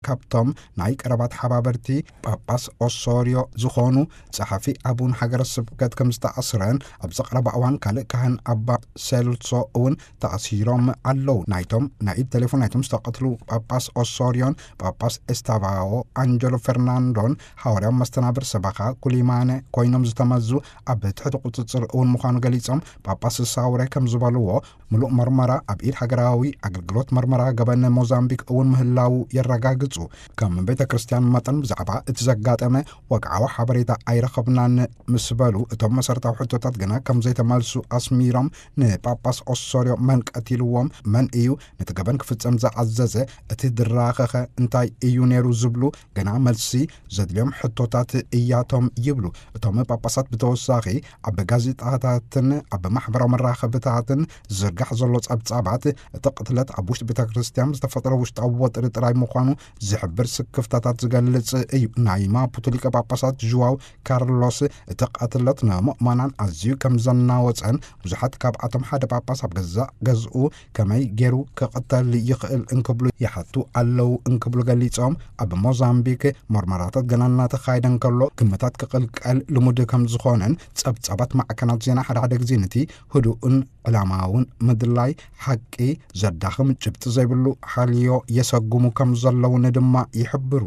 ካብቶም ናይ ቀረባ ተሓባበርቲ ጳጳስ ኦሶርዮ ዝኾኑ ጸሓፊ ኣቡን ሃገረ ስብከት ከም ዝተኣስረን፣ ኣብዚ ቀረባ እዋን ካልእ ካህን ኣባ ሴልሶ እውን ተኣሲሮም ኣለዉ። ናይቶም ናይ ኢድ ቴሌፎን ናይቶም ዝተቐትሉ ጳጳስ ኦሶርዮን ጳጳስ ኤስታቫኦ ኣንጀሎ ፈርናንዶን ሃዋርያዊ መስተናብር ሰበኻ ኩሊማነ ኮይኖም ዝተመዙ ኣብ ትሕቲ ቁጽጽር እውን ምዃኑ ገሊጾም፣ ጳጳስ ሳውረ ከም ዝበልዎ፣ ምሉእ መርመራ ኣብ ኢድ ሃገራዊ ኣገልግሎት መርመራ ገበን ሞዛምቢክ እውን ምህላዉ የረጋግጹ። ከም ቤተ ክርስቲያን መጠን ብዛዕባ እቲ ዘጋጠመ ወግዓዊ ሓበሬታ ኣይረኸብናን ምስ በሉ፣ እቶም መሰረታዊ ሕቶታት ግና ከም ዘይተመልሱ ኣስሚሮም፣ ንጳጳስ ኦሶርዮ መን ቀቲልዎም፣ መን እዩ ነቲ ገበን ክፍጸም ዝኣዘዘ፣ እቲ ድራኸኸ እንታይ እዩ ነይሩ ዝብሉ ግና መልሲ ዘድልዮም ሕቶታት እያቶም ይብሉ። እቶም ጳጳሳት ብተወሳኺ ኣብ ጋዜጣታትን ኣብ ማሕበራዊ መራኸብታትን ዝርጋሕ ዘሎ ጸብጻባት፣ እቲ ቅትለት ኣብ ውሽጢ ቤተ ክርስቲያን ዝተፈጠረ ውሽጣዊ ወጥሪ ጥራይ ምዃኑ ዝሕብር ስክፍታታት ዝገልጽ እዩ። ናይ ማፑቶ ሊቀ ጳጳሳት ዥዋው ካርሎስ፣ እቲ ቅትለት ንምእመናን ኣዝዩ ከም ዘናወጸን፣ ብዙሓት ካብኣቶም ሓደ ጳጳስ ኣብ ገዛእ ገዝኡ ከመይ ገይሩ ክቕተል ይኽእል እንክብሉ ይሓቱ ኣለዉ እንክብሉ ገሊጾም፣ ኣብ ሞዛምቢክ መርመራታት ገና እናተኻየደ እንከሎ፣ ግምታት ክቕልቀል ልሙድ ከም ዝኾነን፣ ጸብጻባት ማዕከናት ዜና ሓደ ሓደ ግዜ ነቲ ህዱእን ዕላማውን ምድላይ ሓቂ ዘዳኽም ጭብጢ ዘይብሉ ሓልዮ የሰጉሙ ከም ዘለውን ድማ ይሕብሩ።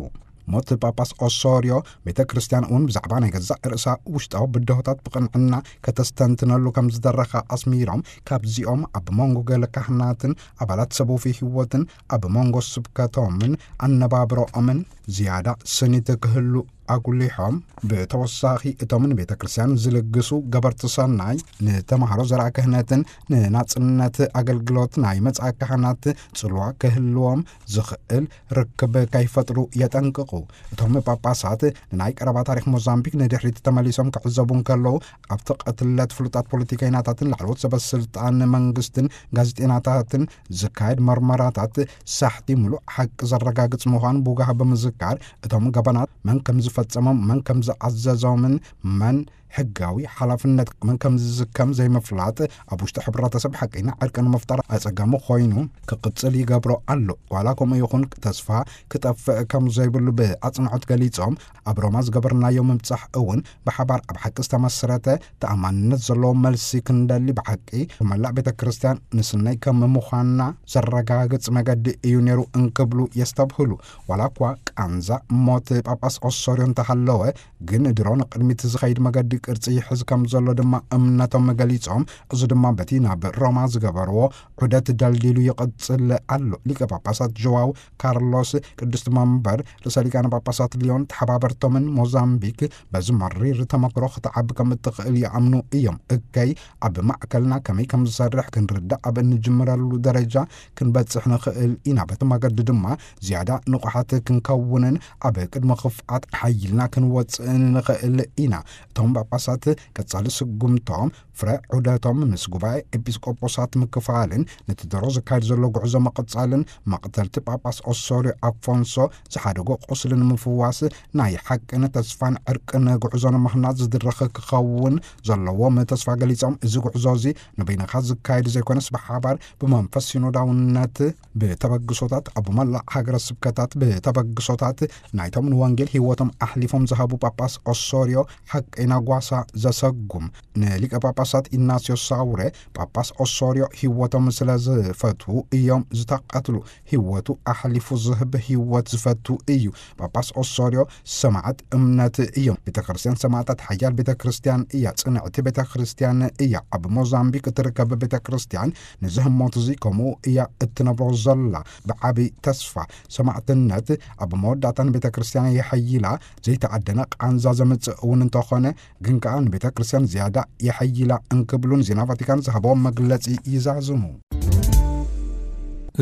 ሞት ጳጳስ ኦሶርዮ፣ ቤተ ክርስቲያን እውን ብዛዕባ ናይ ገዛእ ርእሳ ውሽጣዊ ብድሆታት ብቕንዕና ከተስተንትነሉ ከም ዝደረኻ ኣስሚሮም፣ ካብዚኦም ኣብ መንጎ ገለ ካህናትን ኣባላት ሰቡፊ ህይወትን ኣብ መንጎ ስብከቶምን ኣነባብሮኦምን ዝያዳ ስኒት ክህሉ ኣጉሊሖም፣ ብተወሳኺ እቶም ንቤተ ክርስቲያን ዝልግሱ ገበርቲ ሰናይ፣ ንተምሃሮ ዘርኣ ክህነትን ንናጽነት ኣገልግሎት ናይ መጽኣ ካህናት ጽልዋ ክህልዎም ዝኽእል ርክብ ከይፈጥሩ የጠንቅቑ። እቶም ጳጳሳት ንናይ ቀረባ ታሪኽ ሞዛምቢክ ንድሕሪት ተመሊሶም ክዕዘቡ እንከለዉ፣ ኣብቲ ቅትለት ፍሉጣት ፖለቲከኛታትን ላዕለዎት ሰበ ስልጣን መንግስትን ጋዜጠኛታትን ዝካየድ መርመራታት ሳሕቲ ምሉእ ሓቂ ዘረጋግጽ ምዃኑ ብውጋህ ብምዝካር፣ እቶም ገበናት መን ከም ዝፈጸሞም፣ መን ከም ዝኣዘዞምን መን ሕጋዊ ሓላፍነት መን ከም ዝዝከም ዘይምፍላጥ፣ ኣብ ውሽጢ ሕብረተሰብ ሓቀኛ ዕርቂ ንምፍጣር ኣጸጋሚ ኮይኑ ክቕጽል ይገብሮ ኣሎ። ዋላ ከምኡ ይኹን፣ ተስፋ ክጠፍእ ከም ዘይብሉ ብኣጽንዖት ገሊጾም፣ ኣብ ሮማ ዝገበርናዮ ምብጻሕ እውን ብሓባር ኣብ ሓቂ ዝተመስረተ ተኣማንነት ዘለዎ መልሲ ክንደሊ፣ ብሓቂ መላእ ቤተ ክርስቲያን ንስነይ ከም ምዃንና ዘረጋግጽ መገዲ እዩ ነይሩ እንክብሉ የስተብህሉ። ዋላ እኳ ቃንዛ ሞት ጳጳስ ኦሶርዮ እንተሃለወ፣ ግን ድሮ ንቕድሚት ዝኸይድ መገዲ ቅርጺ ይሕዝ ከም ዘሎ ድማ እምነቶም ገሊጾም፣ እዚ ድማ በቲ ናብ ሮማ ዝገበርዎ ዑደት ደልዲሉ ይቕጽል ኣሎ። ሊቀ ጳጳሳት ጆዋው ካርሎስ ቅድስቲ መንበር ርእሰ ሊቃነ ጳጳሳት ሊዮን ተሓባበርቶምን ሞዛምቢክ በዚ መሪር ተመክሮ ክትዓቢ ከም እትኽእል ይኣምኑ እዮም። እከይ ኣብ ማእከልና ከመይ ከም ዝሰርሕ ክንርዳእ ኣብ እንጅምረሉ ደረጃ ክንበጽሕ ንኽእል ኢና። በቲ መገዲ ድማ ዝያዳ ንቑሓት ክንከውንን ኣብ ቅድሚ ክፍኣት ሓይልና ክንወጽእን ንኽእል ኢና። እቶም ጳጳሳት ቀጻሊ ስጉምቶም ፍረ ዑደቶም ምስ ጉባኤ ኤጲስቆጶሳት ምክፋልን ነቲ ድሮ ዝካየድ ዘሎ ጉዕዞ ምቕጻልን፣ መቕተልቲ ጳጳስ ኦሶርዮ ኣፎንሶ ዝሓደጎ ቁስሊ ንምፍዋስ፣ ናይ ሓቅን ተስፋን ዕርቅን ጉዕዞ ንምህናጽ ዝድረኽ ክኸውን ዘለዎም ተስፋ ገሊጾም፣ እዚ ጉዕዞ እዚ ንበይንኻ ዝካየድ ዘይኮነስ ብሓባር ብመንፈስ ሲኖዳውነት ብተበግሶታት ኣብ መላእ ሃገረ ስብከታት ብተበግሶታት ናይቶም ንወንጌል ህይወቶም ኣሕሊፎም ዝሃቡ ጳጳስ ኦሶርዮ ሓቀይና ጓሳ ዘሰጉም፣ ንሊቀ ጳጳሳት ኢናስዮ ሳውረ፣ ጳጳስ ኦሶርዮ ህይወቶም ስለ ዝፈትዉ እዮም ዝተቐትሉ። ህይወቱ ኣሕሊፉ ዝህብ ህይወት ዝፈቱ እዩ። ጳጳስ ኦሶርዮ ሰማዕት እምነት እዮም። ቤተ ክርስቲያን ሰማዕታት ሓያል ቤተ ክርስቲያን እያ። ጽንዕቲ ቤተ ክርስቲያን እያ። ኣብ ሞዛምቢክ እትርከብ ቤተ ክርስቲያን ነዚ ህሞት እዚ ከምኡ እያ እትነብሮ ዘላ። ብዓቢ ተስፋ ሰማዕትነት ኣብ መወዳእታ ንቤተ ክርስቲያን የሐይላ። ዘይተኣደነ ቃንዛ ዘምጽእ እውን እንተኾነ፣ ግን ከኣ ንቤተ ክርስቲያን ዝያዳ የሐይላ እንክብሉን ዜና ቫቲካን ዝሃቦም መግለጺ ይዛዝሙ።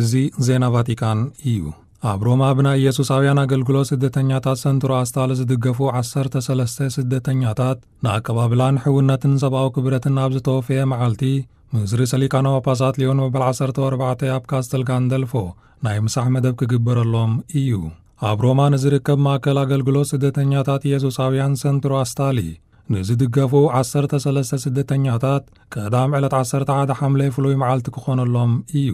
እዚ ዜና ቫቲካን እዩ። ኣብ ሮማ ብናይ ኢየሱሳውያን ኣገልግሎት ስደተኛታት ሰንትሮ ኣስታል ዝድገፉ ዓሰርተ ሰለስተ ስደተኛታት ንኣቀባብላን ሕውነትን ሰብኣዊ ክብረትን ኣብ ዝተወፈየ መዓልቲ፣ ምስ ርእሰ ሊቃነ ጳጳሳት ሊዮን መበል ዓሰርተ ኣርባዕተ ኣብ ካስተል ጋንደልፎ ናይ ምሳሕ መደብ ክግበረሎም እዩ። ኣብ ሮማ ንዝርከብ ማእከል ኣገልግሎት ስደተኛታት ኢየሱሳውያን ሰንትሮ ኣስታሊ ንዝድገፉ ዓሰርተ ሰለስተ ስደተኛታት ቀዳም ዕለት ዓሰርተ ሓደ ሓምለ ፍሉይ መዓልቲ ክኾነሎም እዩ።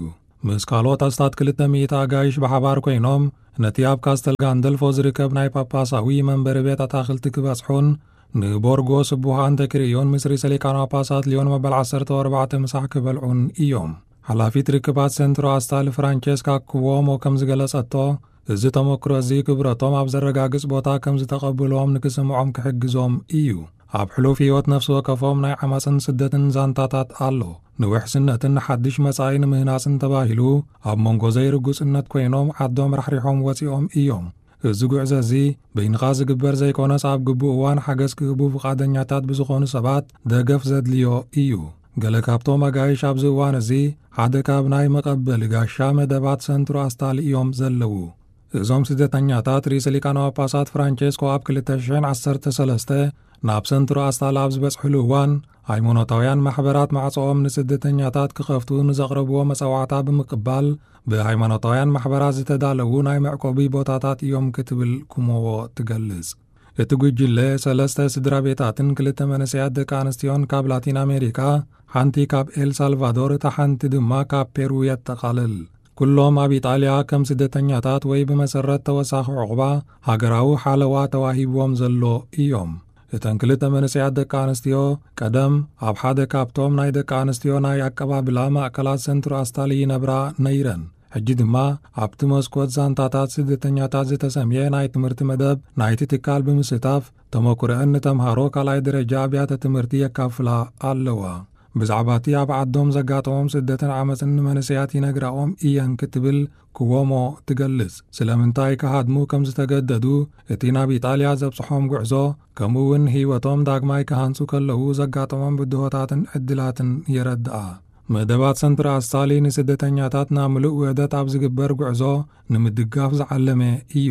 ምስ ካልኦት ኣስታት ክልተ ሚእቲ ኣጋይሽ ብሓባር ኮይኖም ነቲ ኣብ ካስተል ጋንደልፎ ዝርከብ ናይ ጳጳሳዊ መንበሪ ቤት ኣታኽልቲ ክበጽሑን ንቦርጎ ስቡሕ ኣንተ ክርእዩን ምስ ርእሰ ሊቃነ ጳጳሳት ሊዮን መበል ዓሰርተ ኣርባዕተ ምሳሕ ክበልዑን እዮም። ሓላፊት ርክባት ሰንትሮ ኣስታል ፍራንቸስካ ኩዎሞ ከም ዝገለጸቶ፣ እዚ ተመክሮ እዚ ክብረቶም ኣብ ዘረጋግጽ ቦታ ከም ዝተቐብልዎም ንክስምዖም ክሕግዞም እዩ። ኣብ ሕሉፍ ህይወት ነፍሲ ወከፎም ናይ ዓመጽን ስደትን ዛንታታት ኣሎ። ንውሕስነትን ሓድሽ መጻኢ ንምህናጽን ተባሂሉ ኣብ መንጎ ዘይርጉጽነት ኮይኖም ዓዶም ራሕሪሖም ወጺኦም እዮም። እዚ ጉዕዞ እዚ በይንኻ ዝግበር ዘይኮነስ ኣብ ግቡእ እዋን ሓገዝ ክህቡ ፍቓደኛታት ብዝኾኑ ሰባት ደገፍ ዘድልዮ እዩ። ገለ ካብቶም ኣጋይሽ ኣብዚ እዋን እዚ ሓደ ካብ ናይ መቐበሊ ጋሻ መደባት ሰንትሮ ኣስታል እዮም ዘለዉ። እዞም ስደተኛታት ርእሰ ሊቃነ ጳጳሳት ፍራንቸስኮ ኣብ ክልተ ሽሕን ዓሰርተ ሰለስተ ናብ ሰንትሮ ኣስታል ኣብ ዝበጽሕሉ እዋን፣ ሃይማኖታውያን ማሕበራት ማዕጾኦም ንስደተኛታት ክኸፍቱ ንዘቕረብዎ መጸዋዕታ ብምቅባል፣ ብሃይማኖታውያን ማሕበራት ዝተዳለዉ ናይ መዕቆቢ ቦታታት እዮም ክትብል ኩሞዎ ትገልጽ። እቲ ጉጅለ ሰለስተ ስድራ ቤታትን ክልተ መንእሰያት ደቂ ኣንስትዮን ካብ ላቲን ኣሜሪካ፣ ሓንቲ ካብ ኤል ሳልቫዶር፣ እታ ሓንቲ ድማ ካብ ፔሩ የጠቓልል። ኩሎም ኣብ ኢጣልያ ከም ስደተኛታት ወይ ብመሰረት ተወሳኺ ዕቑባ ሃገራዊ ሓለዋ ተዋሂብዎም ዘሎ እዮም። እተን ክልተ መንእሰያት ደቂ ኣንስትዮ ቀደም ኣብ ሓደ ካብቶም ናይ ደቂ ኣንስትዮ ናይ ኣቀባብላ ማእከላት ሰንትሮ ኣስታል ይነብራ ነይረን። ሕጂ ድማ ኣብቲ መስኮት ዛንታታት ስደተኛታት ዝተሰምየ ናይ ትምህርቲ መደብ ናይቲ ትካል ብምስታፍ ተመኩረአን ንተምሃሮ ካልኣይ ደረጃ ኣብያተ ትምህርቲ የካፍላ ኣለዋ። ብዛዕባ እቲ ኣብ ዓዶም ዘጋጠሞም ስደትን ዓመፅን ንመንእሰያት ይነግራኦም እየን ክትብል ክዎሞ ትገልጽ። ስለምንታይ ክሃድሙ ከም ዝተገደዱ፣ እቲ ናብ ኢጣልያ ዘብጽሖም ጉዕዞ፣ ከምኡ እውን ህይወቶም ዳግማይ ክሃንጹ ከለዉ ዘጋጠሞም ብድሆታትን ዕድላትን የረድኣ። መደባት ሰንትር ኣስታሊ ንስደተኛታት ናብ ምሉእ ውህደት ኣብ ዝግበር ጉዕዞ ንምድጋፍ ዝዓለመ እዩ።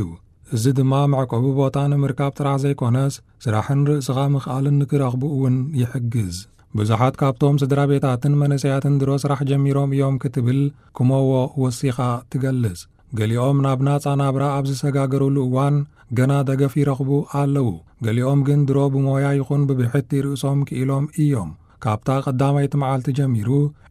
እዚ ድማ መዕቆቢ ቦታ ንምርካብ ጥራሕ ዘይኮነስ፣ ስራሕን ርእስኻ ምኽኣልን ንክረኽቡ እውን ይሕግዝ። ብዙሓት ካብቶም ስድራ ቤታትን መንእሰያትን ድሮ ስራሕ ጀሚሮም እዮም ክትብል ክሞዎ ወሲኻ ትገልጽ። ገሊኦም ናብ ናጻ ናብራ ኣብ ዝሰጋገሩሉ እዋን ገና ደገፍ ይረኽቡ ኣለዉ። ገሊኦም ግን ድሮ ብሞያ ይኹን ብብሕቲ ርእሶም ክኢሎም እዮም። ካብታ ቀዳመይቲ መዓልቲ ጀሚሩ፣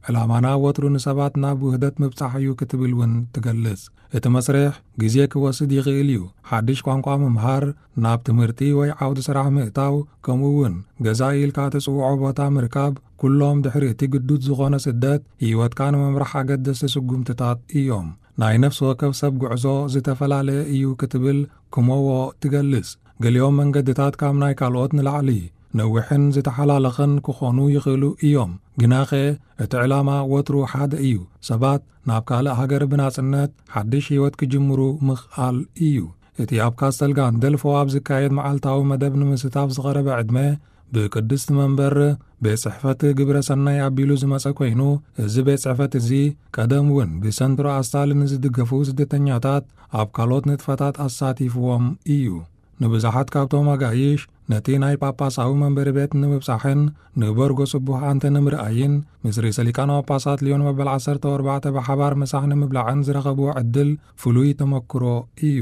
ዕላማና ወትሩ ንሰባት ናብ ውህደት ምብጻሕ እዩ ክትብል እውን ትገልጽ። እቲ መስርሕ ግዜ ክወስድ ይኽእል እዩ። ሓድሽ ቋንቋ ምምሃር፣ ናብ ትምህርቲ ወይ ዓውዲ ስራሕ ምእታው፣ ከምኡ እውን ገዛ ኢልካ ትጽውዖ ቦታ ምርካብ፣ ኩሎም ድሕሪ እቲ ግዱድ ዝኾነ ስደት ህይወትካ ንምምራሕ ኣገደስቲ ስጉምትታት እዮም። ናይ ነፍሲ ወከፍ ሰብ ጉዕዞ ዝተፈላለየ እዩ ክትብል ክሞዎ ትገልጽ። ገሊኦም መንገድታት ካብ ናይ ካልኦት ንላዕሊ ነዊሕን ዝተሓላለኸን ክኾኑ ይኽእሉ እዮም። ግናኸ እቲ ዕላማ ወትሩ ሓደ እዩ። ሰባት ናብ ካልእ ሃገር ብናጽነት ሓድሽ ህይወት ክጅምሩ ምኽኣል እዩ። እቲ ኣብ ካስተል ጋንደልፎ ኣብ ዝካየድ መዓልታዊ መደብ ንምስታፍ ዝቐረበ ዕድመ ብቅድስቲ መንበር ቤት ጽሕፈት ግብረ ሰናይ ኣቢሉ ዝመጸ ኮይኑ፣ እዚ ቤት ጽሕፈት እዚ ቀደም እውን ብሰንትሮ ኣስታሊ ንዝድገፉ ስደተኛታት ኣብ ካልኦት ንጥፈታት ኣሳቲፍዎም እዩ። ንብዙሓት ካብቶም ኣጋይሽ ነቲ ናይ ጳጳሳዊ መንበሪ ቤት ንምብጻሕን ንበርጎ ጽቡሕ ኣንተ ንምርኣይን ምስ ርእሰ ሊቃነ ጳጳሳት ሊዮን መበል ዓሰርተ ኣርባዕተ ብሓባር ምሳሕ ንምብላዕን ዝረኸብዎ ዕድል ፍሉይ ተመክሮ እዩ።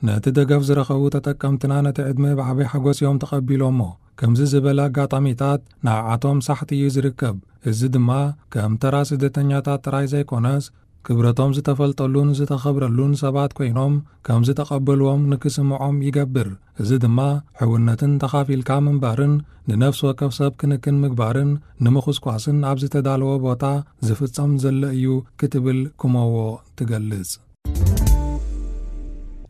ነቲ ደገፍ ዝረኸቡ ተጠቀምትና ነቲ ዕድመ ብዓቢ ሓጎስ እዮም ተቐቢሎሞ። ከምዚ ዝበለ ኣጋጣሚታት ንዓቶም ሳሕቲ እዩ ዝርከብ። እዚ ድማ ከም ተራ ስደተኛታት ጥራይ ዘይኮነስ፣ ክብረቶም ዝተፈልጠሉን ዝተኸብረሉን ሰባት ኮይኖም ከም ዝተቐበልዎም ንክስምዖም ይገብር። እዚ ድማ ሕውነትን ተኻፊልካ ምንባርን ንነፍሲ ወከፍ ሰብ ክንክን ምግባርን ንምኹስኳስን ኣብ ዝተዳለወ ቦታ ዝፍጸም ዘሎ እዩ ክትብል ክሞዎ ትገልጽ።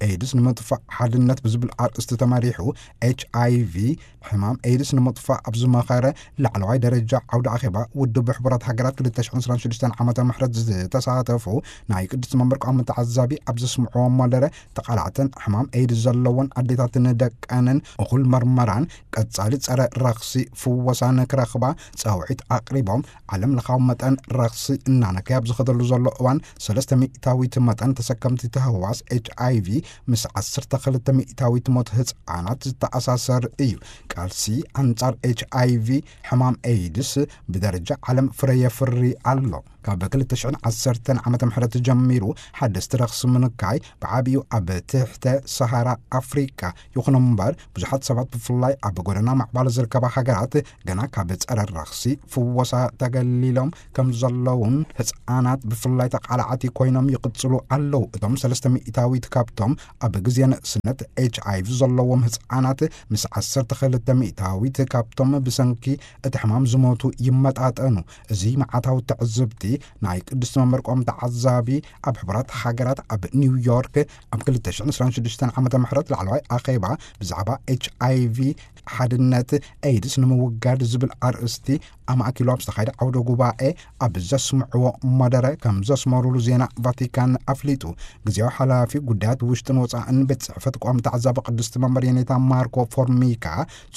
ኤድስ ንምጥፋእ ሓድነት ብዝብል ኣርእስቲ ተመሪሑ፣ ኤች ኣይ ቪ ሕማም ኤድስ ንምጥፋእ ኣብ ዝመኸረ ላዕለዋይ ደረጃ ዓውደ ኣኼባ ውድብ ሕቡራት ሃገራት ክልተ ሽሕን ዕስራን ሽዱሽተን ዓመተ ምሕረት ዝተሳተፉ ናይ ቅድስቲ መንበር ቀዋሚ ተዓዛቢ ኣብ ዘስምዕዎ መደረ፣ ተቓላዕተን ሕማም ኤድስ ዘለወን ኣዴታትን ደቀንን እኹል መርመራን ቀጻሊ ጸረ ረኽሲ ፍወሳን ክረኽባ ጻውዒት ኣቕሪቦም፣ ዓለም ለኻዊ መጠን ረኽሲ እናነከየ ኣብ ዝኸደሉ ዘሎ እዋን፣ ሰለስተ ሚእታዊት መጠን ተሰከምቲ ተህዋስ ኤች ኣይ ቪ ምስ ዓሰርተ ክልተ ሚእታዊት ሞት ህጻናት ዝተኣሳሰር እዩ። ቃልሲ ኣንጻር ኤች ኣይ ቪ ሕማም ኤድስ ብደረጃ ዓለም ፍረ የፍሪ ኣሎ። ካብ ክልተ ሽሕን ዓሰርተን ዓመተ ምሕረት ጀሚሩ ሓደስቲ ረኽሲ ምንካይ ብዓብዩ ኣብ ትሕተ ሰሃራ ኣፍሪቃ። ይኹን እምበር ብዙሓት ሰባት ብፍላይ ኣብ ጎደና ማዕባል ዝርከባ ሃገራት ገና ካብ ጸረ ረኽሲ ፍወሳ ተገሊሎም ከም ዘለውን ህጻናት ብፍላይ ተቓላዓቲ ኮይኖም ይቕጽሉ ኣለዉ። እቶም ሰለስተ ሚእታዊት ካብቶም ኣብ ግዜ ንእስነት ኤች ኣይ ቪ ዘለዎም ህጻናት ምስ ዓሰርተ ክልተ ሚእታዊት ካብቶም ብሰንኪ እቲ ሕማም ዝሞቱ ይመጣጠኑ። እዚ መዓታዊ ትዕዝብቲ ናይ ቅድስቲ መንበር ቆም ተዓዛቢ ኣብ ሕቡራት ሃገራት ኣብ ኒውዮርክ ኣብ ክልተ ሽሕን ዕስራን ሽዱሽተን ዓመተ ምሕረት ላዕለዋይ ኣኼባ ብዛዕባ ኤች ኣይ ቪ ሓድነት ኤድስ ንምውጋድ ዝብል ኣርእስቲ ኣማእኪሉ ኣብ ዝተኻየደ ዓውደ ጉባኤ ኣብ ዘስምዕዎ መደረ ከም ዘስመሩሉ ዜና ቫቲካን ኣፍሊጡ። ግዜያዊ ሓላፊ ጉዳያት ውሽጥን ወጻእን ቤት ጽሕፈት ቆም ተዓዛቢ ቅድስቲ መንበር የኔታ ማርኮ ፎርሚካ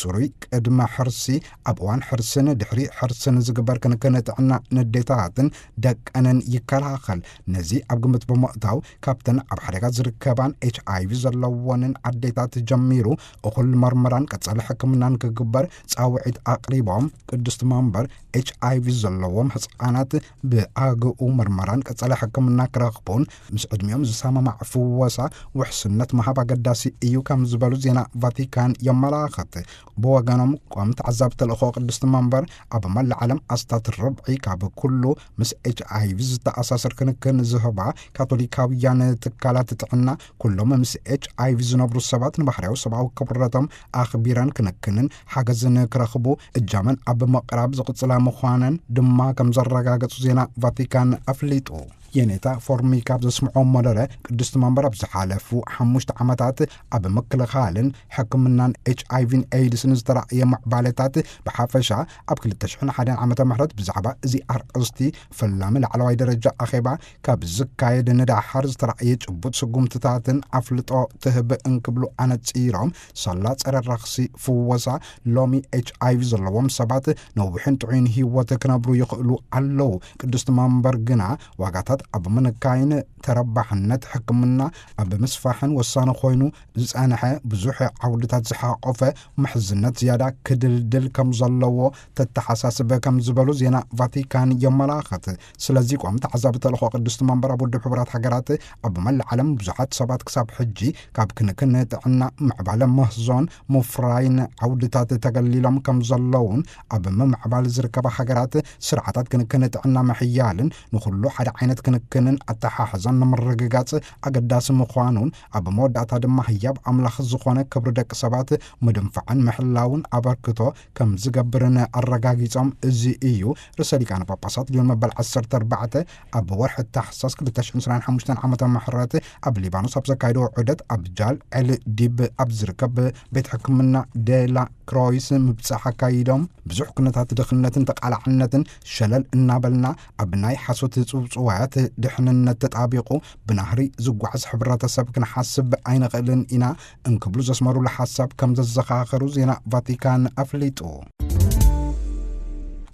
ጽሩይ ቅድመ ሕርሲ፣ ኣብ እዋን ሕርስን ድሕሪ ሕርስን ዝግበር ክንክን ጥዕና ንዴታትን ደቀንን ይከላኸል። ነዚ ኣብ ግምት ብምእታው ካብተን ኣብ ሓደጋ ዝርከባን ኤች ኣይ ቪ ዘለዎንን ኣዴታት ጀሚሩ እኹል መርመራን ቀጻሊ ሕክምናን ክግበር ጻውዒት ኣቕሪቦም። ቅድስቲ መንበር ኤች ኣይ ቪ ዘለዎም ህጻናት ብኣግኡ መርመራን ቀጻሊ ሕክምና ክረኽቡን ምስ ዕድሚኦም ዝሰማማዕ ፍወሳ ውሕስነት ምሃብ ኣገዳሲ እዩ ከም ዝበሉ ዜና ቫቲካን የመላኽት። ብወገኖም ቆም ተዓዛቢ ተልእኾ ቅድስቲ መንበር ኣብ መላእ ዓለም ኣስታት ርብዒ ካብ ኩሉ ምስ ኤች ኣይ ቪ ዝተኣሳሰር ክንክን ዝህባ ካቶሊካውያን ትካላት ጥዕና ኩሎም ምስ ኤች ኣይ ቪ ዝነብሩ ሰባት ንባህርያዊ ሰብኣዊ ክብረቶም ኣኽቢረን ክንክንን ሓገዝን ክረኽቡ እጃመን ኣብ ምቕራብ ዝቕጽላ ምዃነን ድማ ከም ዘረጋገጹ ዜና ቫቲካን ኣፍሊጡ። የኔታ ፎርሚካ ኣብ ዘስምዖ መደረ ቅድስቲ መንበር ኣብ ዝሓለፉ ሓሙሽተ ዓመታት ኣብ ምክልኻልን ሕክምናን ኤች ኣይ ቪን ኤድስን ዝተራእየ ምዕባለታት ብሓፈሻ ኣብ ክልተ ሽሕን ሓደን ዓመተ ምሕረት ብዛዕባ እዚ ኣርእስቲ ፈላሚ ላዕለዋይ ደረጃ ኣኼባ ካብ ዝካየድ ንዳሓር ዝተራእየ ጭቡጥ ስጉምትታትን ኣፍልጦ ትህብ እንክብሉ ኣነጺሮም፣ ሳላ ጸረ ረኽሲ ፍወሳ ሎሚ ኤች ኣይ ቪ ዘለዎም ሰባት ነዊሕን ጥዑይን ህይወት ክነብሩ ይኽእሉ ኣለዉ። ቅድስቲ መንበር ግና ዋጋታት ኣብ ምንካይን ተረባሕነት ሕክምና ኣብ ምስፋሕን ወሳኒ ኮይኑ ዝጸንሐ ብዙሕ ዓውድታት ዝሓቆፈ ምሕዝነት ዝያዳ ክድልድል ከም ዘለዎ ተተሓሳስበ ከም ዝበሉ ዜና ቫቲካን የመላኽት። ስለዚ ቆም ተዓዛቢ ተልእኾ ቅድስቲ መንበር ኣብ ውድብ ሕቡራት ሃገራት ኣብ መላእ ዓለም ብዙሓት ሰባት ክሳብ ሕጂ ካብ ክንክን ጥዕና ምዕባለ ምህዞን ምፍራይን ዓውድታት ተገሊሎም ከም ዘለውን ኣብ ምምዕባል ዝርከባ ሃገራት ስርዓታት ክንክን ጥዕና ምሕያልን ንኹሉ ሓደ ዓይነት ክንክንን ኣተሓሕዛን ንምርግጋጽ ኣገዳሲ ምዃኑን ኣብ መወዳእታ ድማ ህያብ ኣምላኽ ዝኾነ ክብሪ ደቂ ሰባት ምድንፋዕን ምሕላውን ኣበርክቶ ከም ዝገብርን ኣረጋጊጾም። እዚ እዩ ርእሰ ሊቃነ ጳጳሳት ሊዮን መበል ዓሰርተ ኣርባዕተ ኣብ ወርሒ ታሕሳስ ክልተ ሽሕን ዕስራን ሓሙሽተን ዓመተ ምሕረት ኣብ ሊባኖስ ኣብ ዘካየዶ ዑደት ኣብ ጃል ዕል ዲብ ኣብ ዝርከብ ቤት ሕክምና ዴላ ክሮይስ ምብጻሕ ኣካይዶም። ብዙሕ ኩነታት ድኽነትን ተቓላዕነትን ሸለል እናበልና ኣብ ናይ ሓሶት ጽውጽዋያት ድሕንነት ተጣቢቑ ብናህሪ ዝጓዓዝ ሕብረተሰብ ክንሓስብ ኣይንኽእልን ኢና እንክብሉ ዘስመሩሉ ሓሳብ ከም ዘዘኻኸሩ ዜና ቫቲካን ኣፍሊጡ።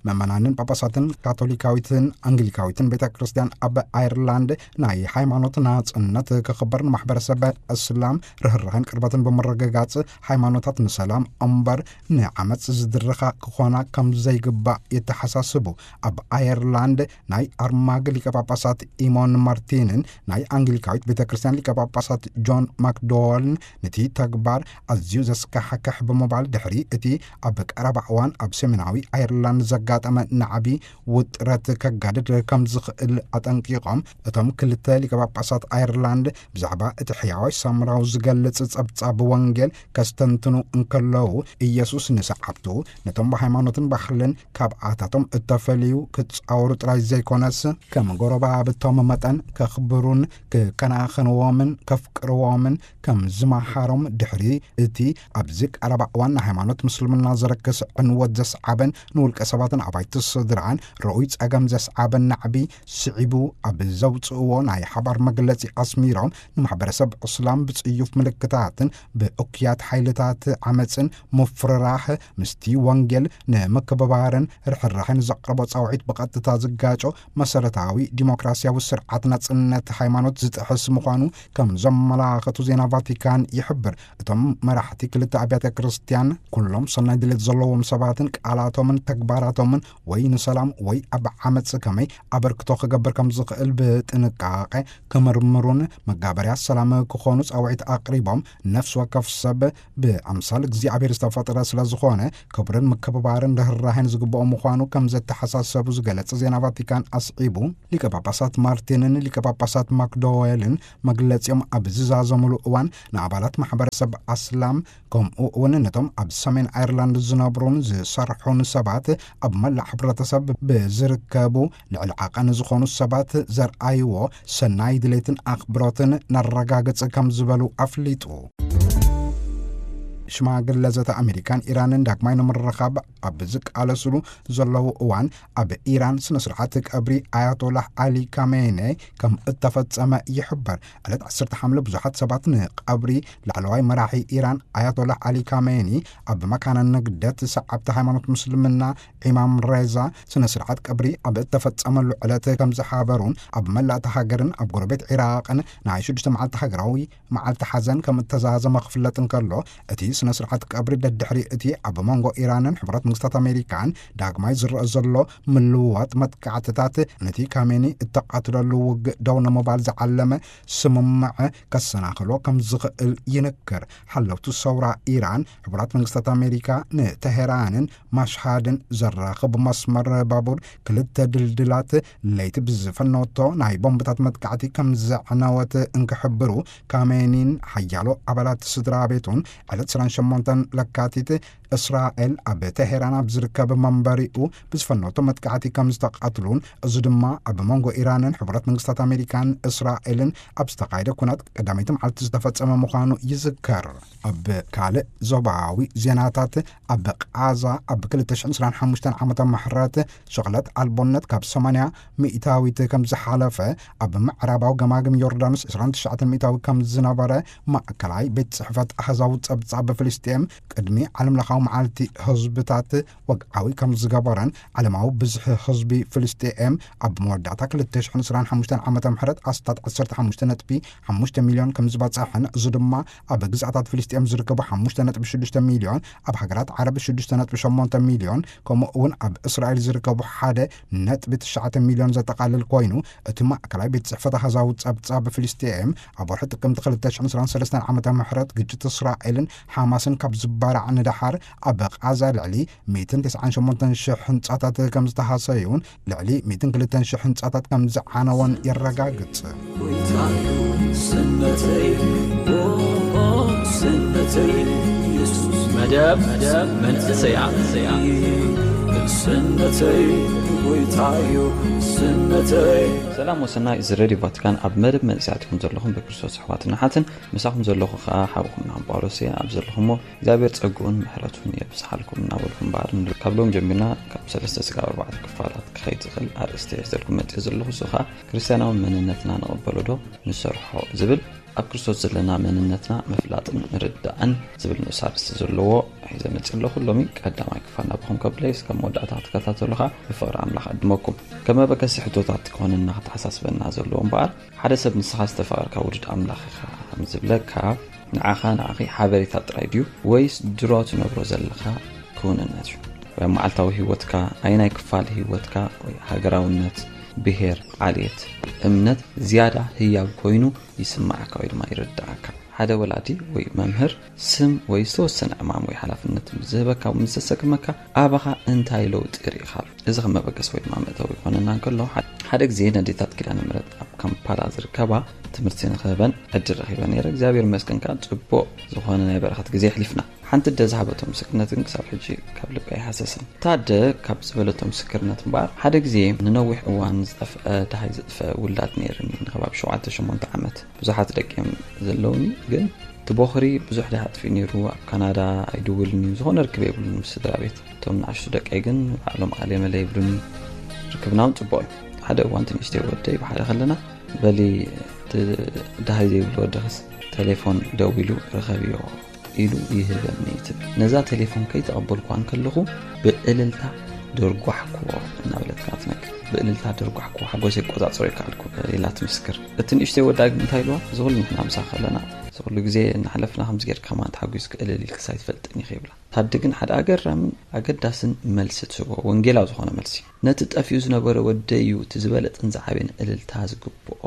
መመናንን ጳጳሳትን ካቶሊካዊትን ኣንግሊካዊትን ቤተ ክርስቲያን ኣብ ኣየርላንድ ናይ ሃይማኖት ናጽነት ክኽበር ንማሕበረሰብ እስላም ርህራህን ቅርበትን ብምርግጋጽ ሃይማኖታት ንሰላም እምበር ንዓመጽ ዝድርኻ ክኾና ከም ዘይግባእ የተሓሳስቡ። ኣብ ኣየርላንድ ናይ ኣርማግ ሊቀ ጳጳሳት ኢሞን ማርቲንን ናይ ኣንግሊካዊት ቤተ ክርስቲያን ሊቀ ጳጳሳት ጆን ማክዶወልን ነቲ ተግባር ኣዝዩ ዘስካሕክሕ ብምባል ድሕሪ እቲ ኣብ ቀረባ እዋን ኣብ ሰሜናዊ ኣየርላንድ ዘጋጠመ ናዕቢ ውጥረት ከጋድድ ከም ዝኽእል ኣጠንቂቖም። እቶም ክልተ ሊቀ ጳጳሳት ኣየርላንድ ብዛዕባ እቲ ሕያዋይ ሳምራዊ ዝገልጽ ጸብጻብ ወንጌል ከስተንትኑ እንከለዉ፣ ኢየሱስ ንሰዓብቱ ነቶም ብሃይማኖትን ባህልን ካብ ኣታቶም እተፈልዩ ክጻወሩ ጥራይ ዘይኮነስ፣ ከም ጎረባብቶም መጠን ከኽብሩን ክከናኸንዎምን ከፍቅርዎምን ከም ዝመሃሮም፣ ድሕሪ እቲ ኣብዚ ቀረባ እዋን ንሃይማኖት ምስልምና ዘረክስ ዕንወት ዘስዓበን ንውልቀ ሰባትን ኣባይቲ ስድራን ርኡይ ጸገም ዘስዓበን ናዕቢ ስዒቡ ኣብ ዘውጽእዎ ናይ ሓባር መግለጺ ኣስሚሮም፣ ንማሕበረሰብ እስላም ብጽዩፍ ምልክታትን ብእኩያት ሓይልታት ዓመጽን ምፍርራሕ ምስቲ ወንጌል ንምክብባርን ርሕራሕን ዘቕረቦ ጻውዒት ብቐጥታ ዝጋጮ መሰረታዊ ዲሞክራሲያዊ ስርዓት ናጽነት ሃይማኖት ዝጥሕስ ምዃኑ ከም ዘመላኸቱ ዜና ቫቲካን ይሕብር። እቶም መራሕቲ ክልተ ኣብያተ ክርስቲያን ኩሎም ሰናይ ድሌት ዘለዎም ሰባትን ቃላቶምን ተግባራቶም ወይ ንሰላም ወይ ኣብ ዓመፅ ከመይ ኣበርክቶ ክገብር ከም ዝኽእል ብጥንቃቄ ክምርምሩን መጋበርያ ሰላም ክኾኑ ፃውዒት ኣቕሪቦም፣ ነፍሲ ወከፍ ሰብ ብኣምሳል እግዚኣብሔር ዝተፈጠረ ስለ ዝኾነ ክብርን ምክብባርን ርህራሄን ዝግብኦ ምዃኑ ከም ዘተሓሳሰቡ ዝገለጸ ዜና ቫቲካን ኣስዒቡ፣ ሊቀ ጳጳሳት ማርቲንን ሊቀ ጳጳሳት ማክዶዌልን መግለጺኦም ኣብ ዝዛዘሙሉ እዋን፣ ንኣባላት ማሕበረሰብ ኣስላም ከምኡ እውን ነቶም ኣብ ሰሜን ኣየርላንድ ዝነብሩን ዝሰርሑን ሰባት ኣብ መላእ ሕብረተሰብ ብዝርከቡ ልዕሊ ዓቐን ዝኾኑ ሰባት ዘርኣይዎ ሰናይ ድሌትን ኣኽብሮትን ነረጋግጽ ከም ዝበሉ ኣፍሊጡ። ሽማግለ ዘተ ኣሜሪካን ኢራንን ዳግማይ ንምርኻብ ኣብ ዝቃለስሉ ዘለዉ እዋን፣ ኣብ ኢራን ስነ ስርዓት ቀብሪ ኣያቶላህ ኣሊ ካሜኔ ከም እተፈጸመ ይሕበር። ዕለት ዓሰርተ ሓምለ ብዙሓት ሰባት ንቐብሪ ላዕለዋይ መራሒ ኢራን ኣያቶላህ ኣሊ ካሜኒ ኣብ መካነ ንግደት ሰዓብቲ ሃይማኖት ምስልምና ኢማም ሬዛ ስነ ስርዓት ቀብሪ ኣብ እተፈጸመሉ ዕለት ከም ዝሓበሩን፣ ኣብ መላእ እታ ሃገርን ኣብ ጎረቤት ዒራቕን ናይ ሽዱሽተ መዓልቲ ሃገራዊ መዓልቲ ሓዘን ከም እተዛዘመ ክፍለጥ እንከሎ፣ እቲ ስነ ስርዓት ቀብሪ ደድሕሪ እቲ ኣብ መንጎ ኢራንን ሕቡራት መንግስታት ኣሜሪካን ዳግማይ ዝረአ ዘሎ ምልውዋጥ መጥቃዕትታት፣ ነቲ ካሜኒ እተቓትለሉ ውግእ ደው ንምባል ዝዓለመ ስምምዕ ከሰናኽሎ ከም ዝኽእል ይንክር። ሓለውቲ ሰውራ ኢራን፣ ሕቡራት መንግስታት ኣሜሪካ ንተሄራንን ማሽሃድን ዘራኽብ መስመር ባቡር ክልተ ድልድላት ለይቲ ብዝፈነወቶ ናይ ቦምብታት መጥቃዕቲ ከም ዘዕነወት እንክሕብሩ፣ ካሜኒን ሓያሎ ኣባላት ስድራ ቤቱን ዕለት ዕስራን ሸሞንተን ለካቲት እስራኤል ኣብ ተሄራን ኣብ ዝርከብ መንበሪኡ ብዝፈነወቶ መጥቃዕቲ ከም ዝተቓትሉን፣ እዚ ድማ ኣብ መንጎ ኢራንን ሕቡራት መንግስታት ኣሜሪካን እስራኤልን ኣብ ዝተኻየደ ኩናት ቀዳመይቲ መዓልቲ ዝተፈጸመ ምዃኑ ይዝከር። ኣብ ካልእ ዞባዊ ዜናታት፣ ኣብ ቃዛ ኣብ ክልተ ሽሕን ዕስራን ሓሙሽተን ዓመተ ምሕረት ሽቕለት ኣልቦነት ካብ ሰማንያ ሚእታዊት ከም ዝሓለፈ፣ ኣብ ምዕራባዊ ገማግም ዮርዳኖስ ዕስራን ትሽዓተን ሚእታዊ ከም ዝነበረ ማእከላይ ቤት ጽሕፈት ኣህዛዊ ጸብጻብ ፍልስጤም ቅድሚ ዓለምለኻዊ መዓልቲ ህዝብታት ወግዓዊ ከም ዝገበረን፣ ዓለማዊ ብዝሒ ህዝቢ ፍልስጤም ኣብ መወዳእታ ክልተ ሽሕን ዕስራን ሓሙሽተን ዓመተ ምሕረት ኣስታት ዓሰርተ ሓሙሽተ ነጥቢ ሓሙሽተ ሚልዮን ከም ዝበጽሐን፣ እዚ ድማ ኣብ ግዝኣታት ፍልስጤም ዝርከቡ ሓሙሽተ ነጥቢ ሽዱሽተ ሚልዮን፣ ኣብ ሃገራት ዓረብ ሽዱሽተ ነጥቢ ሸሞንተ ሚልዮን፣ ከምኡ እውን ኣብ እስራኤል ዝርከቡ ሓደ ነጥቢ ትሽዓተ ሚልዮን ዘጠቓልል ኮይኑ፣ እቲ ማእከላይ ቤት ጽሕፈት ኣሃዛዊ ጸብጻብ ፍልስጤም ኣብ ወርሒ ጥቅምቲ ክልተ ሽሕን ዕስራን ሰለስተን ዓመተ ምሕረት ግጭት እስራኤልን ሓማስን ካብ ዝባራዕ ንደሓር፣ ኣብ ቃዛ ልዕሊ ሚእትን ተስዓን ሸሞንተን ሽሕ ህንጻታት ከም ዝተሃሰዩን ልዕሊ ሚእትን ክልተን ሽሕ ህንጻታት ከም ዝዓነወን የረጋግጽ። ጎይታዩ ስነተይ፣ ኦ፣ ስነተይ፣ ኢየሱስ መደብ መንእሰያት። ስነተይ፣ ጎይታዩ ስነተይ። ሰላም ወሰናይ፣ እዚ ሬድዮ ቫቲካን ኣብ መደብ መንእሰያት ኢኹም ዘለኹም ብክርስቶስ ኣሕዋትን ኣሓትን፣ ምሳኹም ዘለኹ ኸኣ ሓውኹም ናም ጳውሎስ እየ። ኣብ ዘለኹሞ እግዚኣብሔር ጸግኡን ምሕረቱን የብዝሓልኩም እናበልኩ እምበኣር፣ ካብ ሎም ጀሚርና ካብ ሰለስተ ስጋብ ኣርባዕተ ክፋላት ክኸይድ ዝኽእል ኣርእስቲ ሒዘልኩም መጺአ ዘለኹ። እሱ ኸኣ ክርስትያናዊ መንነትና ንቕበሎ ዶ ንሰርሖ ዝብል፣ ኣብ ክርስቶስ ዘለና መንነትና ምፍላጥን ምርዳእን ዝብል ንኡስ ኣርእስቲ ዘለዎ ሒዘ መጺአ ኣለኹ። ሎሚ ቀዳማይ ክፋል ናባኹም ከብለይ፣ እስከ መወዳእታ ክትከታተሉ ኸኣ ብፍቕሪ ኣምላኽ ዕድመኩም። ከም መበገሲ ሕቶታት ክኾነና ክተሓሳስበና ዘለዎ እምበኣር፣ ሓደ ሰብ ንስኻ ዝተፋቐርካ ውሉድ ኣምላኽ ኢኻ ከም ዝብለካ፣ ንዓኻ ንዓኺ ሓበሬታ ጥራይ ድዩ፣ ወይስ ድሮ ትነብሮ ዘለኻ ክውንነት እዩ? ወይ ኣብ መዓልታዊ ህይወትካ፣ ኣየናይ ክፋል ህይወትካ ወይ ሃገራውነት፣ ብሄር፣ ዓሌት፣ እምነት ዝያዳ ህያው ኮይኑ ይስምዓካ ወይ ድማ ይርድኣካ? ሓደ ወላዲ ወይ መምህር ስም ወይ ዝተወሰነ ዕማም ወይ ሓላፍነት ምስ ዝህበካ፣ ምስ ዘሰክመካ፣ ኣባኻ እንታይ ለውጢ ርኢኻሉ? እዚ ከም መበገሲ ወይ ድማ መእተዊ ይኾነና እንከሎ፣ ሓደ ግዜ ነዴታት ኪዳነ ምሕረት ኣብ ካምፓላ ዝርከባ ትምህርቲ ንኽህበን ዕድል ረኺበ ነይረ። እግዚኣብሔር ይመስገን ከኣ ጽቡቕ ዝኾነ ናይ በረኸት ግዜ ኣሕሊፍና። ሓንቲ ኣደ ዝሃበቶ ምስክርነት ግን ክሳብ ሕጂ ካብ ልበይ ኣይሃሰሰን። እታ ኣደ ካብ ዝበለቶ ምስክርነት እምበኣር፣ ሓደ ግዜ ንነዊሕ እዋን ዝጠፍአ፣ ደሃይ ዘጥፍአ ውላድ ነይርኒ። ንከባቢ ሸውዓተ ሸሞንተ ዓመት ብዙሓት ደቂ እዮም ዘለውኒ፣ ግን እቲ ቦኽሪ ብዙሕ ደሃ ኣጥፊኡ ነይሩ። ኣብ ካናዳ ኣይድውልን እዩ፣ ዝኾነ ርክብ የብሉን ምስ ስድራ ቤት። እቶም ንኣሽቱ ደቀይ ግን ባዕሎም ኣሌ መለ ይብሉኒ። ርክብና እውን ጽቡቕ እዩ። ሓደ እዋን እቲ ንእሽተይ ወደይ ብሓደ ከለና፣ በሊ እቲ ደሃይ ዘይብሉ ወድኽስ ቴሌፎን ደዊሉ ርኸብዮ ኢሉ ይህበኒ ትብል። ነዛ ቴሌፎን ከይተቐበልኳ እንከለኹ ብእልልታ ደርጓሕክዎ እናበለት ከኣ ትነግር። ብእልልታ ደርጓሕኩ፣ ሓጎሰይ ክቆጻጸሮ ኣይከኣልኩ ኢላ ትምስክር። እቲ ንእሽተይ ወዳ ግን እንታይ ኢልዋ? እዚ ኩሉ ንሕና ምሳኺ ከለና፣ እዚ ኩሉ ግዜ እናሕለፍና ከምዚ ጌርካ ከማን ተሓጒስኪ እልል ኢልክስ ኣይትፈልጥን ኢኺ ይብላ። ታዲ ግን ሓደ ኣገራምን ኣገዳስን መልሲ ትህቦ፣ ወንጌላዊ ዝኾነ መልሲ። ነቲ ጠፊኡ ዝነበረ ወደይ እዩ እቲ ዝበለጽን ዝዓበየን እልልታ ዝግብኦ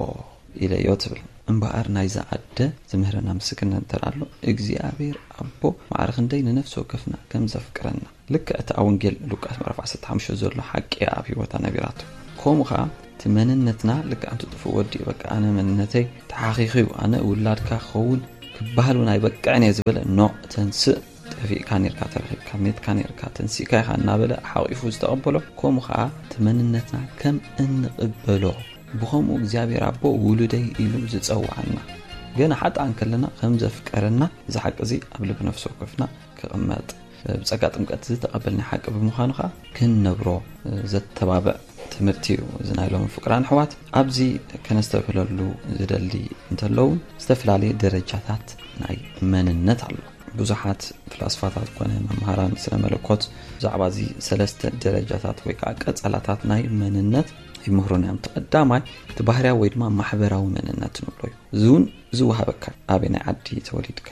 ኢለዮ ትብል። እምበኣር ናይዛ ኣደ ዝምህረና ምስክርነት እንተ ኣሎ፣ እግዚኣብሔር ኣቦ ማዕረ ክንደይ ንነፍሲ ወከፍና ከም ዘፍቅረና። ልክዕ እቲ ኣብ ወንጌል ሉቃስ ምዕራፍ ዓሰርተ ሓሙሽተ ዘሎ ሓቂ ኣብ ህይወታ ነቢራቶ። ከምኡ ኸዓ እቲ መንነትና ልክዕ ኣንቲ ጥፉእ ወዲ እዩ። በቃ ኣነ መንነተይ ተሓኺኹ እዩ፣ ኣነ ውላድካ ክኸውን ክበሃል እውን ኣይበቅዕን እየ ዝበለ፣ ኖዕ ተንስእ፣ ጠፊእካ ኔርካ ተረኺብካ፣ ሜትካ ኔርካ ተንሲእካ ኢኻ እናበለ ሓቒፉ ዝተቐበሎ፣ ከምኡ ኸዓ እቲ መንነትና ከም እንቕበሎ፣ ብኸምኡ እግዚኣብሔር ኣቦ ውሉደይ ኢሉ ዝጸውዓና፣ ገና ሓጥኣን ከለና ከም ዘፍቀረና፣ እዚ ሓቂ እዚ ኣብ ልቢ ነፍሲ ወከፍና ክቕመጥ፣ ብጸጋ ጥምቀት ዝተቐበልናዮ ሓቂ ብምዃኑ ኸዓ ክንነብሮ ዘተባብዕ ትምህርቲ እዩ። እዚ ናይ ሎሚ ፍቅራን ኣሕዋት ኣብዚ ከነስተብህለሉ ዝደሊ እንተለውን፣ ዝተፈላለየ ደረጃታት ናይ መንነት ኣሎ። ብዙሓት ፍላስፋታት ኮነ መምሃራን ስነ መለኮት ብዛዕባ እዚ ሰለስተ ደረጃታት ወይ ከዓ ቀጸላታት ናይ መንነት ይምህሩና እዮም። እቲ ቀዳማይ እቲ ባህርያዊ ወይ ድማ ማሕበራዊ መንነት ንብሎ እዩ። እዚ እውን ዝወሃበካ ኣበየናይ ዓዲ ተወሊድካ፣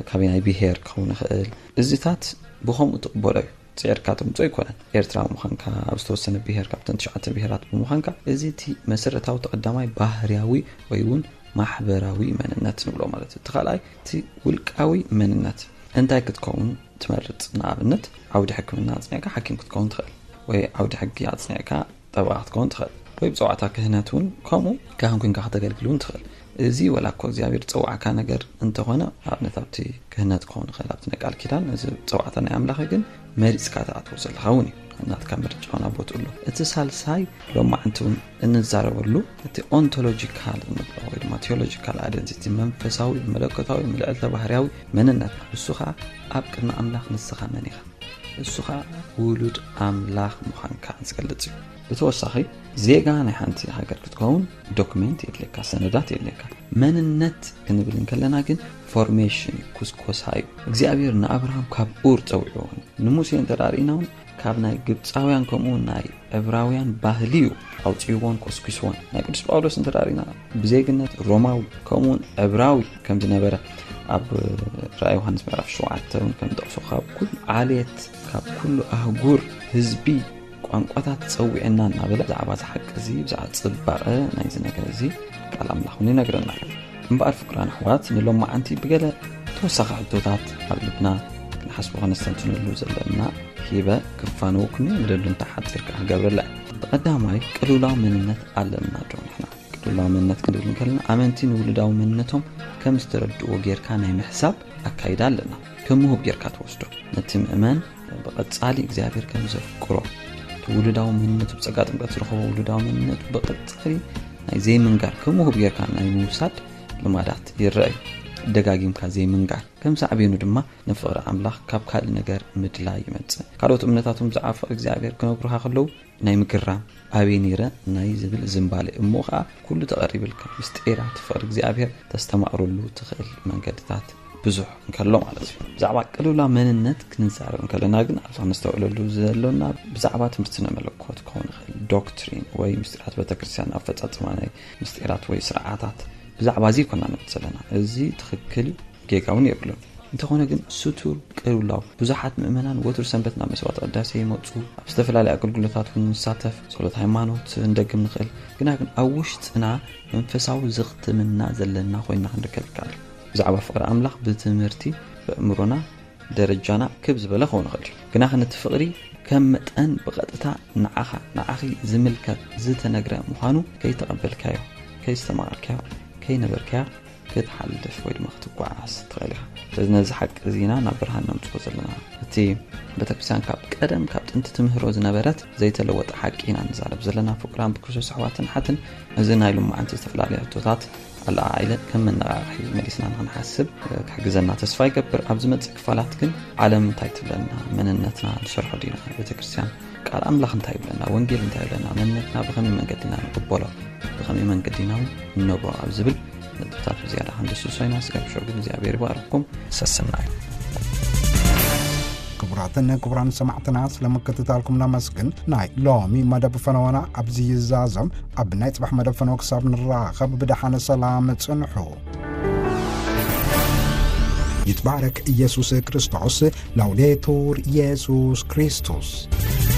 ካበየናይ ብሄር ክኸውን ይኽእል። እዚታት ብኸምኡ ትቕበሎ እዩ። ጽዒርካ ተምጾ ኣይኮነን። ኤርትራዊ ምዃንካ፣ ኣብ ዝተወሰነ ብሄር ካብተን ትሽዓተ ብሄራት ብምዃንካ፣ እዚ እቲ መሰረታዊ እቲ ቀዳማይ ባህርያዊ ወይ እውን ማሕበራዊ መንነት ንብሎ ማለት እዩ። እቲ ካልኣይ እቲ ውልቃዊ መንነት። እንታይ ክትከውን ትመርጽ? ንኣብነት ዓውዲ ሕክምና ኣጽኒዕካ ሓኪም ክትከውን ትኽእል፣ ወይ ዓውዲ ሕጊ ኣጽኒዕካ ጠበቓ ክትከውን ትኽእል፣ ወይ ብጸዋዕታ ክህነት እውን ከምኡ ካህን ኮንካ ከተገልግል እውን ትኽእል። እዚ ወላ እኮ እግዚኣብሔር ዝጸዋዕካ ነገር እንተኾነ፣ ኣብነት ኣብቲ ክህነት ክኸውን ይኽእል፣ ኣብቲ ናይ ቃል ኪዳን፣ እዚ ጸዋዕታ ናይ ኣምላኽ ግን መሪጽካ ትኣትዎ ዘለኻ እውን እዩ። ናትካ ምርጫ እውን ኣብ ቦትኡ ኣሎ። እቲ ሳልሳይ ሎማዓንቲ እውን እንዛረበሉ እቲ ኦንቶሎጂካል እንብሎ ወይ ድማ ቴዎሎጂካል ኣይደንቲቲ፣ መንፈሳዊ መለኮታዊ ምልዕልተ ባህርያዊ መንነት፣ ንሱ ኸዓ ኣብ ቅድሚ ኣምላኽ ንስኻ መን ኢኻ? እሱ ኸዓ ውሉድ ኣምላኽ ምዃንካ ዝገልጽ እዩ። ብተወሳኺ ዜጋ ናይ ሓንቲ ሃገር ክትከውን ዶክሜንት የድልየካ፣ ሰነዳት የድልየካ። መንነት ክንብል እንከለና ግን ፎርሜሽን እዩ፣ ኩስኮሳ እዩ። እግዚኣብሔር ንኣብርሃም ካብ ኡር ጸዊዕዎ፣ ንሙሴ እንተ ደኣ ርኢና እውን ካብ ናይ ግብፃውያን ከምኡ ናይ ዕብራውያን ባህሊ እዩ ኣውፅእዎን ኮስኪስዎን። ናይ ቅዱስ ጳውሎስ እንተ ደኣ ርኢና ብዜግነት ሮማዊ ከምኡውን ዕብራዊ ከም ዝነበረ ኣብ ራእይ ዮሃንስ ምዕራፍ ሸውዓተ እውን ከም ንጠቕሶ ካብ ኩሉ ዓሌት ካብ ኩሉ ኣህጉር ህዝቢ ቋንቋታት ጸዊዕና እናበለ ብዛዕባ እዚ ሓቂ እዚ ብዛዕባ ጽባቐ ናይዚ ነገር እዚ ቃል ኣምላኽ እውን ይነግረና። እምበኣር ፍቅራን ኣሕዋት ንሎማዓንቲ ብገለ ተወሳኺ ሕቶታት ኣብ ልብና ክንሓስቦ ከነስተንትነሉ ዘለና ሂበ ክፋነወኩም እየ። ንደሉንታ ሓጺር ከዓ ክገብረላ እየ። ብቐዳማይ ቅልውላው መንነት ኣለና ዶ ንሕና? ቅልውላው መንነት ክንብል እንከለና ኣመንቲ ንውሉዳዊ መንነቶም ከም ዝተረድእዎ ጌርካ ናይ ምሕሳብ ኣካይዳ ኣለና። ከም ምሁብ ጌርካ ትወስዶ። ነቲ ምእመን ብቐጻሊ እግዚኣብሔር ከም ዘፍቅሮ፣ እቲ ውሉዳዊ መንነቱ ብጸጋ ጥምቀት ዝረኸቦ ውሉዳዊ መንነቱ ብቐጻሊ ናይ ዘይምንጋር፣ ከም ምሁብ ጌርካ ናይ ምውሳድ ልማዳት ይረአ እዩ። ደጋጊምካ ዘይምንጋር። ከም ሳዕቤኑ ድማ ንፍቕሪ ኣምላኽ ካብ ካልእ ነገር ምድላይ ይመጽእ። ካልኦት እምነታት እውን ብዛዕባ ፍቕሪ እግዚኣብሔር ክነግሩኻ ከለዉ ናይ ምግራም፣ ኣበይ ነይረ ናይ ዝብል ዝንባሌ እሞ ኸዓ ኩሉ ተቐሪብልካ ምስጢራት ፍቕሪ እግዚኣብሔር ተስተማቕረሉ ትኽእል መንገድታት ብዙሕ እንከሎ ማለት እዩ። ብዛዕባ ቅልውላው መንነት ክንዛረብ እንከለና ግን ኣብዚ ክነስተውዕለሉ ዘሎና ብዛዕባ ትምህርቲ ስነ መለኮት ክኸውን ይኽእል፣ ዶክትሪን ወይ ምስጢራት ቤተክርስትያን፣ ኣፈጻጽማ ናይ ምስጢራት ወይ ስርዓታት፣ ብዛዕባ እዚ ኣይኮና ንብል ዘለና። እዚ ትኽክል እዩ፣ ጌጋ እውን የብሉን። እንተኾነ ግን ስቱር ቅልውላው፣ ብዙሓት ምእመናን ወትሩ ሰንበት ናብ መስዋዕተ ቅዳሴ ይመጹ፣ ኣብ ዝተፈላለዩ ኣገልግሎታት እውን ንሳተፍ፣ ጸሎት ሃይማኖት ክንደግም ንኽእል። ግና ግን ኣብ ውሽጥና መንፈሳዊ ዝኽትምና ዘለና ኮይንና ክንርከብ ይከኣል። ብዛዕባ ፍቕሪ ኣምላኽ ብትምህርቲ ብእምሮና ደረጃና ክብ ዝበለ ክኸውን ይኽእል እዩ። ግና ግን እቲ ፍቕሪ ከም መጠን ብቐጥታ ንዓኻ፣ ንዓኺ ዝምልከት ዝተነግረ ምዃኑ ከይተቐበልካዮ፣ ከይስተማቐርካዮ፣ ከይነበርካዮ ክትሓልፍ ወይ ድማ ክትጓዓዝ ትኽእል ኢኻ። ስለዚ ነዚ ሓቂ እዚ ኢና ናብ ብርሃን ነምጽኦ ዘለና። እቲ ቤተክርስትያን ካብ ቀደም ካብ ጥንቲ ትምህሮ ዝነበረት ዘይተለወጠ ሓቂ ኢና ንዛረብ ዘለና። ፍቁራን ብክርስቶስ ኣሕዋትን ሓትን፣ እዚ ናይ ሎማዓንቲ ዝተፈላለዩ ሕቶታት ኣለዓዒለ ከም መነቓቕሒ መሊስና ንኽንሓስብ ክሕግዘና ተስፋ ይገብር። ኣብ ዝመጽእ ክፋላት ግን ዓለም እንታይ ትብለና? መንነትና ንሰርሖ ዲና? ቤተክርስትያን ቃል ኣምላኽ እንታይ ይብለና? ወንጌል እንታይ ይብለና? መንነትና ብኸመይ መንገዲ ኢና ንቕበሎ? ብኸመይ መንገዲ ኢና እውን ንነብሮ? ኣብ ዝብል ነጥብታት ብዝያዳ ክንድስሶ ኢና። ስጋብ ሽዑ ግን እግዚኣብሔር ይባርኽኩም። ሰስናዩ። ክቡራትን ክቡራን ሰማዕትና፣ ስለ ምክትታልኩም ነመስግን። ናይ ሎሚ መደብ ፈነወና ኣብዚ ይዛዘም። ኣብ ናይ ጽባሕ መደብ ፈነወ ክሳብ ንራኸብ፣ ብደሓነ ሰላም ጽንሑ። ይትባረክ ኢየሱስ ክርስቶስ። ላውዴቱር ኢየሱስ ክርስቶስ።